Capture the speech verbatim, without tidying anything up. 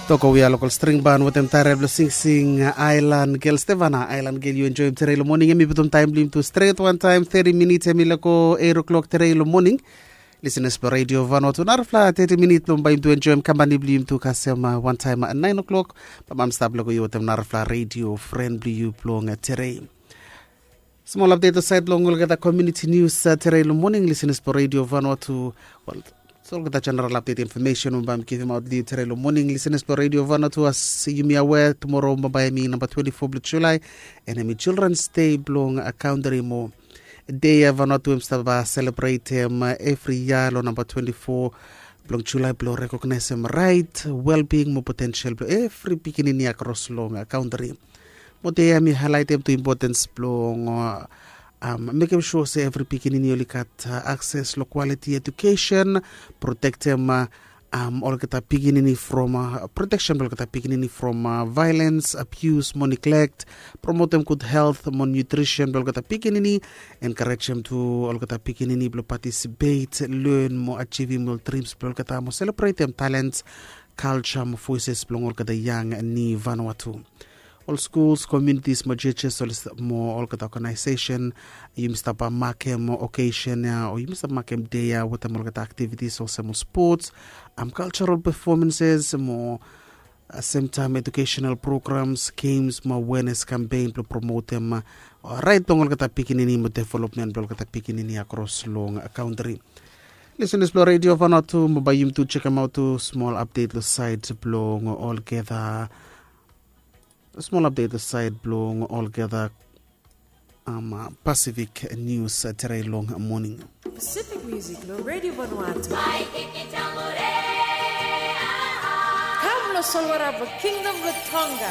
Toko wia lokol string ban wetem taerel blong singsing, ailan gel stevana ailan gel yu enjoim terei long moning. Em i putum taem blong yum tu stret wantaem teti minit em i lego eit o'klok terei long moning. Lisenas blong redio vanua tu narafala teti minit blong bae yum tu enjoim kampani blong yum tu kasem wantaem naen o'klok. Bamam stap lego yu wetem narafala redio fren blong yu blong terei. Smol apdet long saed blong olgeta komiuniti nius terei long moning. Lisenas blong redio vanua tu, wel, olgeta jeneral apdet infomesen we bae mi givimaot long yu terei long moning. Lisenas blong redio vanua tu, as yumi awea, tumoro bambae em i namba twenti fo blong julae, en em i childrens dei blong kantri mo dei ya vanua tu em stap selebretem evri yia long namba twenti fo blong julae blong rekognaesem raet, welbing mo potensel blong evri pikinini akros long kantri. Mo dei ya mi haelaetem tu impotens blong mekem sua se evri pikinini oli gat akses long kwaliti ejukesen, protektem olgeta pikinini from proteksen blong olgeta pikinini from vaelens, abius mo niglekt, promotem gud helt mo nutrisen blong olgeta pikinini, enkarejem tu olgeta pikinini blong patisipet, len mo ajivim ol drims blong olgeta mo selebretem talens, kalja mo voeses blong olgeta yang ni vanua tu. Ol skuls, komiunitis mo jejes mo olgeta oganaesesen, yumi stap makem okesen ya o yumi stap makem dei ya wetem olgeta aktivitis olsem ol spots, kaljaral pefomenses mo semtaem ejukesenal programs, gems mo awenes kampen blong promotem raet blong olgeta pikinini mo developmen blong olgeta pikinini akros long kantri. Lisenas blong redio vanua tu, mo bae yumi tu jekemaot tu smol apdet long saed blong olgeta smol apdet long saed blong olgeta Pasifik nius terei long moning. Pacific Music long Radio Vanuatu. Kam long solwara blong Kingdom blong Tonga.